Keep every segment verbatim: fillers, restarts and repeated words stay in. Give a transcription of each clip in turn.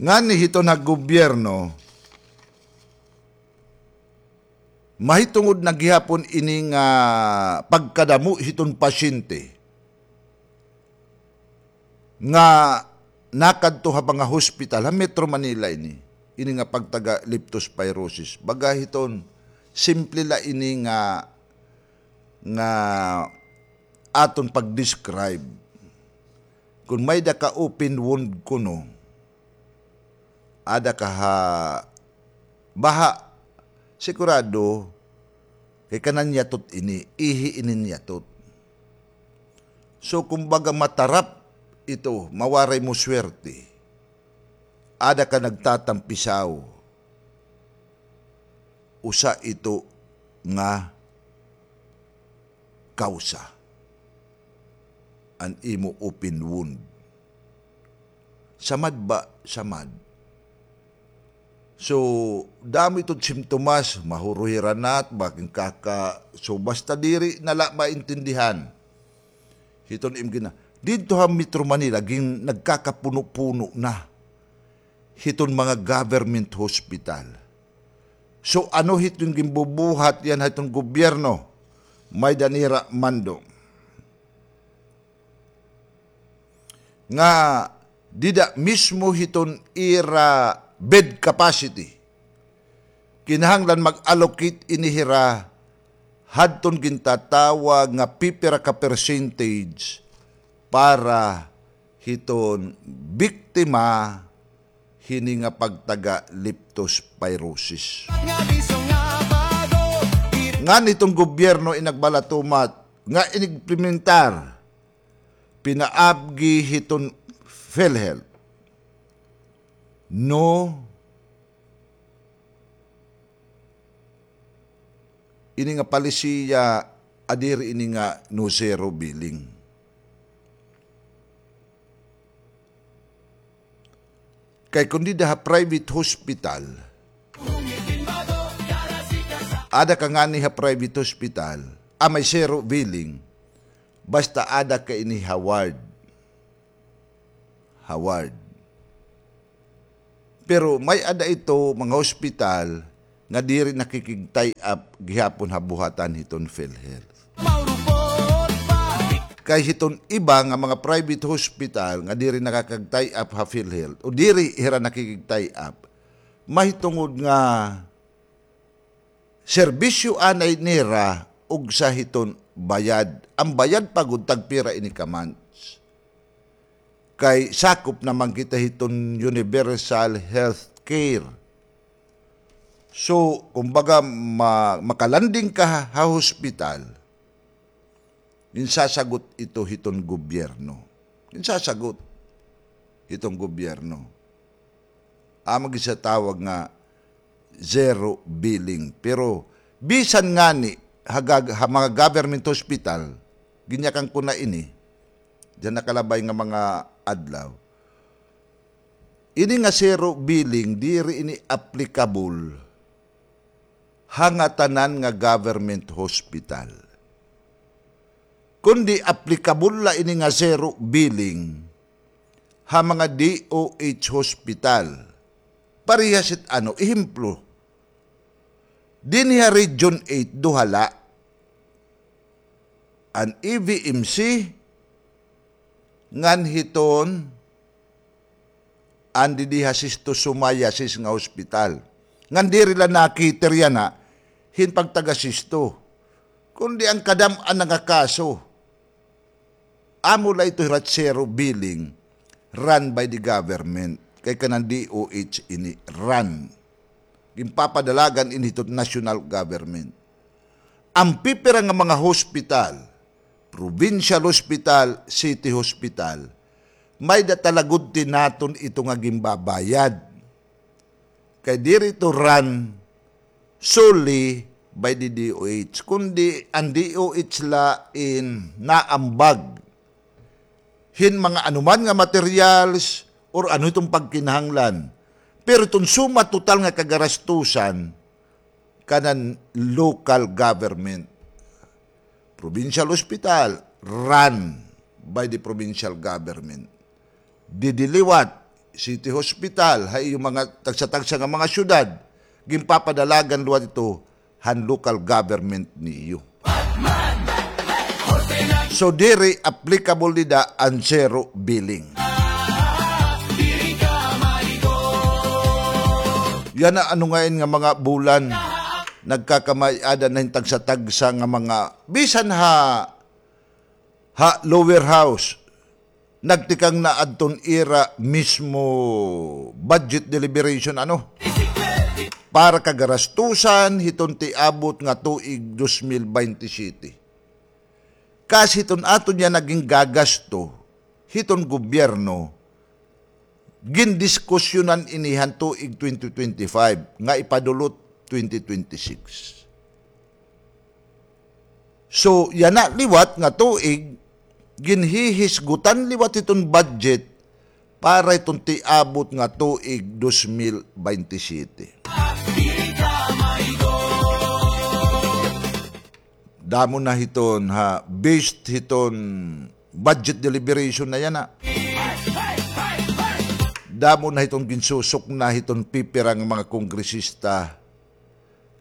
Ngani hiton nga gobyerno, mahitungod na gihapon ini nga pagkadamo hiton pasyente nga nakadto ha mga hospital ha Metro Manila ini, ini nga pagtaga leptospirosis. Baga hiton, simple la ini nga, nga aton pag-describe. Kon may-ada ka open wound kuno, ada ka ha baha, sigurado, kay kanan yatot ini, ihi ini yatot. So, kumbaga, matarap ito, mawaray mo swerte. Ada ka nagtatampisaw. Usa ito nga kawsa an imo open wound. Samad ba? Samad. So, damo ito simptomas, mahuruhiranat, bakin kaka, so, basta diri na la maintindihan hiton im gina-, didto ha Metro Manila, gin-, nagkakapuno-puno na hiton mga government hospital. So, ano hiton ginbubuhat yana hiton gobyerno? May-ada nira, Mando, nga dida mismo hiton ira bed capacity, kinahanglan mag-allocate ini hira hadton gintatawag nga pipira ka percentage para hiton biktima hini nga pagtaga leptospirosis. Ngan hiton gobyerno in nagbalatumat nga inimplementar pinaabgi hiton PhilHealth. No, ini nga palisiya, a diri ini nga no zero billing. Kay kon dida ha private hospital, ada ka ngani ha private hospital, a may zero billing, basta ada ka ini ha ward. Ha ward. Pero may-ada ito mga hospital nga diri nakikig-tie up gihapon ha buhatan hiton PhilHealth. Kay hiton iba nga mga private hospital nga diri nakakag-tie up ha PhilHealth o diri hira nakikig-tie up, mahitungod nga serbisyo anay nira ugsa hiton bayad. An bayad pa gud tagpira ini ka months. Kay sakop na man kita hiton universal health care. So, kumbaga, ma-, makalanding ka ha, ha hospital, ginsasagot ito hiton gobyerno. Ginsasagot hiton gobyerno. Amo gin sa tawag nga zero billing. Pero bisan ngani ha gag-, ha mga government hospital, ginyakan ko na ini, dida nakalabay nga mga adlaw. Ini nga zero billing, diri ini applicable ha ngatanan nga government hospital. Kundi applicable la ini nga zero billing ha mga D O H hospital. Parehas it ano, ehemplo, dinhi ha Region eight, duha la, an E V M C, ngan hiton an didi ha Sisto Sumayasis nga hospital. Ngan diri la nakiter yana hin pagtaga Sisto, kundi an kadam-an na nga kaso. Amo la ito hira zero billing, run by the government. Kay kanan D O H ini run. Ginpapadalagan ini hito national government. An pipira nga mga hospital, provincial hospital, city hospital, may-ada talagudti naton ito nga ginbabayad. Kay diri ito run solely by the D O H, kundi an D O H la in naambag hin mga anuman nga materials or ano iton pagkinahanglan. Pero iton suma total nga kagarastusan, kanan local government. Provincial hospital, run by the provincial government. Didi liwat, city hospital, ha iyo mga tagsa-tagsa nga mga syudad, ginpapadalagan liwat ito han local government niyo. So, diri applicable dida an zero billing. Yana ano ngain nga mga bulan, nagkakamay-ada na hin tagsa-tagsa nga mga, bisan ha, ha lower house, nagtikang na adton ira mismo budget deliberation, ano? Para kagarastusan hiton tiabot nga tuig dos mil baynte siyete. Kas hiton aton yana gingagasto hiton gobyerno, gindiskusyonan ini han tuig twenty twenty-five nga ipadulot twenty twenty-six. So, yana liwat nga tuig, ginhihisgutan liwat hiton budget para hiton tiabot nga tuig dos mil baynte siyete. Damo na hiton ha, based hiton budget deliberation na yana. Damo na hiton ginsusukna hiton pipira nga mga kongresista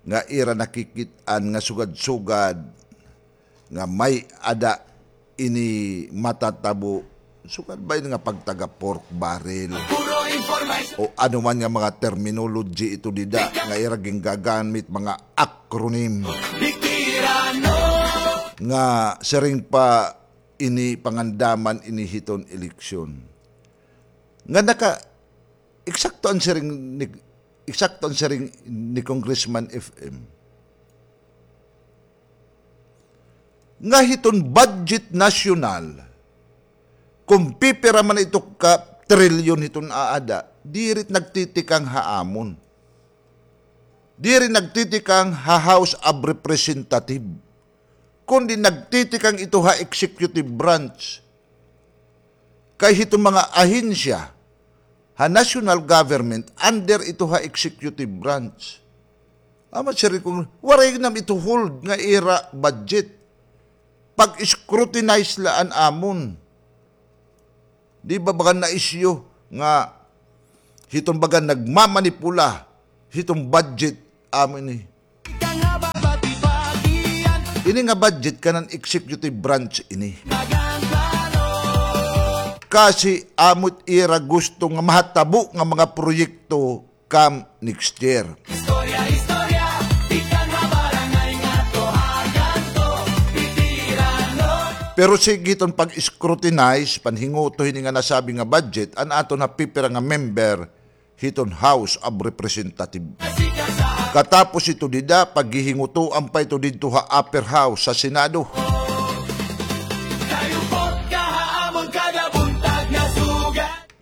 nga ira nakikit-an nga sugad-sugad nga may-ada ini matatabo, sugad ba ini nga pagtaga pork barrel o ano man nga mga terminology ito dida nga ira gingagamit, mga acronym nga siring pa ini pangandaman ini hiton eleksyon. Nga naka, eksakto an siring ni, eksakto an siring ni Congressman F M. Nga hiton budget nasyonal, kon pipira man ito ka trilyon hiton aada, diri nagtitikang ha amon. Diri nagtitikang ha House of Representative. Kundi nagtitikang ito ha executive branch. Kay hiton mga ahensya ha national government, under ito ha executive branch. Amat siring kon waray nam ito hold nga ira budget. Pag-scrutinize la an amon. Di ba bagan na-issue nga hiton bagan nagmamanipula hiton budget amo ini. Ini nga budget kanan executive branch ini. Kasi amo it ira gusto nga mahatabo nga mga proyekto kam next year. Pero sige hiton pag-scrutinize, panhinguto hini nga nasabi nga budget, an aton ha pipira nga member hiton House of Representative. Katapos ito dida, paghihingutoan pa ito didto ha upper house, sa Senado.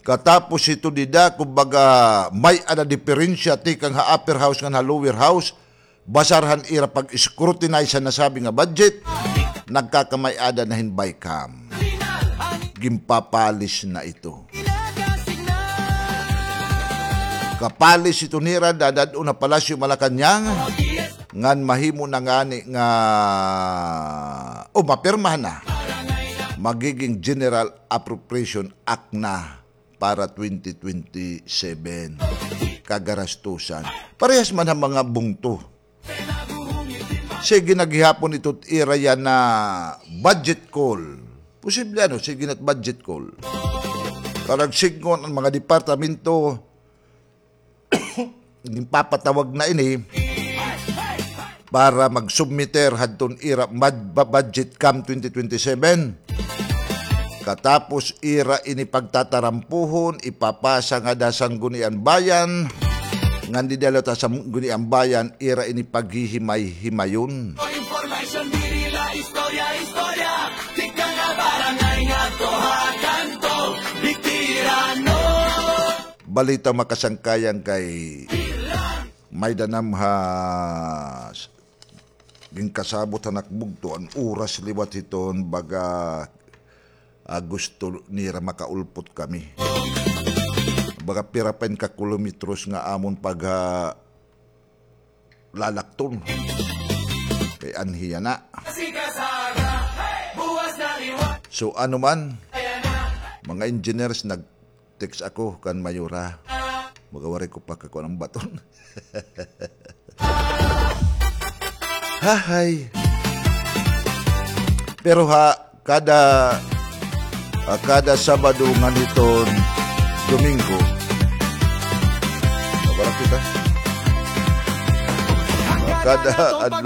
Katapos ito dida, kumbaga, may-ada diperensya tikang ha upper house ngan ha lower house, basar han ira pag-scrutinize han nasabi nga budget, nagkakamay-ada na hin BICAM. Ginpapalis na ito. Kapalis ito nira, dadad-on ha Palasyo Malacañang, ngan mahimo na ngani nga, o mapirmahan na, magiging General Appropriation Act na para twenty twenty-seven. Kagarastusan. Parehas man ha mga bungto. Sige na gihapon ito ira yana budget call. Posible ano, sige na budget call. Para sidngon an mga departamento, ginpapatawag na ini para mag-submiter hadton ira mad-, ba-, budget kam twenty twenty-seven. Katapos ira ini pagtatarampuhon, ipapasa ngada ha Sangguniang Bayan. Ngan dida liwat ha Sangguniang Bayan, ira ini paghihimay-himayon. Information diri la istorya, istorya. Tikang ha barangay ngadto ha kanto, bitirano. Balita makasangkayan kay may-ada nam ha s-, ginkasabot han ak bugto an oras liwat hiton baga, ah, gusto nira makaulpot kami. Baga pira pa in ka kilometros nga amon pagha-, lalakton. Kay anhi yana. So, ano man, mga engineers, nag-, text ako kan Mayora. Baga waray ko pa kakuan an baton. Hahay. Pero ha, kada, ah, kada Sabado ngan hiton Domingo, mabara kita. Ah, kada adlaw